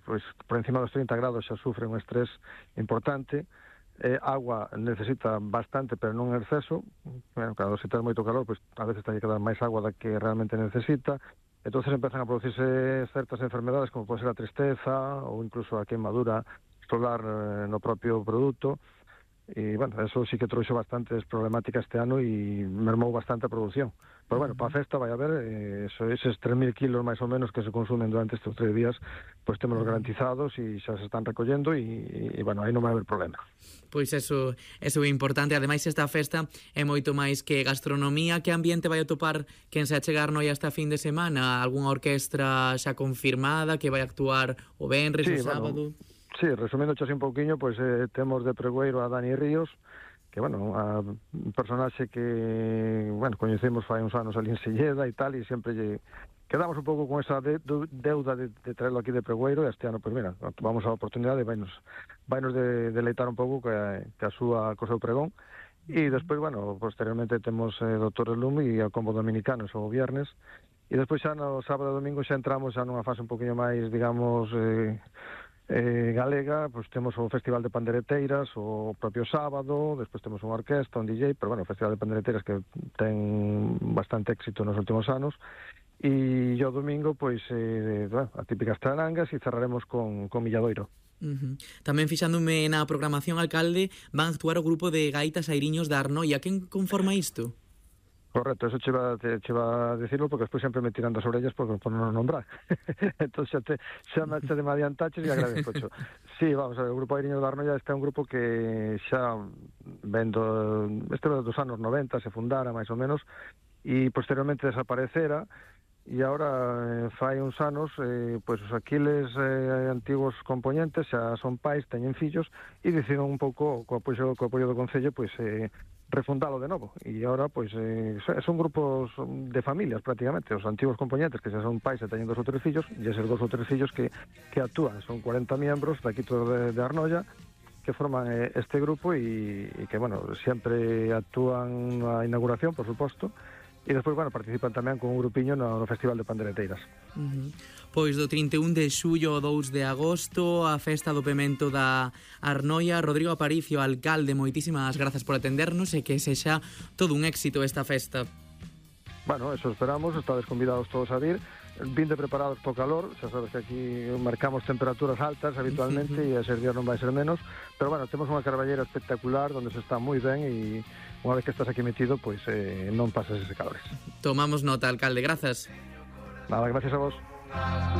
pois por encima dos 30 grados xa sufre un estrés importante. Agua necesita bastante, pero non en exceso. Bueno, cando se ten moito calor, pois a veces ten que dar máis agua da que realmente necesita. Entonces empezan a producirse certas enfermedades, como pode ser a tristeza ou incluso a queimadura solar no propio produto. E, bueno, eso sí que trouxo bastantes problemáticas este ano e mermou bastante a produción. Pero, bueno, para a festa vai haber eses 3.000 kilos máis ou menos que se consumen durante estes 3 días, pois temos garantizados e xa se están recollendo e bueno, aí non vai haber problema. Pois eso é importante. Ademais, esta festa é moito máis que gastronomía. Que ambiente vai atopar quen se achegar noi esta fin de semana? Algúnha orquestra xa confirmada que vai actuar o venres, o sábado? Bueno, sí, resumindo así un pouquiño, pois temos de pregoeiro a Dani Ríos, que, bueno, un personaxe que, bueno, coñecemos fai uns anos ali en Silleda e tal, e sempre quedamos un pouco con esa deuda de traerlo aquí de pregoeiro, e este ano, pois mira, vamos a oportunidade, vainos deleitar un pouco que a súa co seu pregón. E despois, bueno, posteriormente temos Dr. Slum e o combo dominicano, o viernes, e despois xa no sábado e domingo xa entramos xa nunha fase un poquinho máis, digamos, galega. Pois temos o Festival de Pandereteiras o propio sábado, despois temos unha orquesta, un DJ, pero bueno, o Festival de Pandereteiras que ten bastante éxito nos últimos anos, e o domingo, pois, a típicas trarangas, e cerraremos con Milladoiro. Tamén fixándome na programación, alcalde, van actuar o grupo de gaitas airiños da Arnoia. Quen conforma isto? Correcto, eso che va a decirlo porque despois sempre me tiran das orellas por non nombrar. Entón xa me adiantaches e agradezco. Sí, vamos a ver, o Grupo Airiño da Arnoia este é un grupo que xa vendo dos anos 90 se fundara máis ou menos e posteriormente desaparecera. E agora fai uns anos pois os Aquiles antigos componentes xa son pais, teñen fillos e decidiron un pouco co apoio do Concello pois refundalo de novo, e agora pois son grupos de familias prácticamente, os antigos componentes que xa son pais e teñen 2 ou 3 fillos, e eses 2 ou 3 fillos que actúan, son 40 miembros daqui de Arnoia que forman este grupo e que, bueno, sempre actúan na inauguración, por suposto, e despois, bueno, participan tamén con un grupiño no Festival de Pandereteiras. Pois do 31 de xullo ao 2 de agosto, a festa do Pemento da Arnoia. Rodrigo Aparicio, alcalde, moitísimas grazas por atendernos e que sexa todo un éxito esta festa. Bueno, eso esperamos, estades convidados todos a vir. Vinde preparados po calor, xa sabes que aquí marcamos temperaturas altas habitualmente e eses días non vai ser menos, pero bueno, temos unha carballeira espectacular onde se está moi ben e unha vez que estás aquí metido, pois non pasas ese calores. Tomamos nota, alcalde, grazas. Nada, gracias a vos.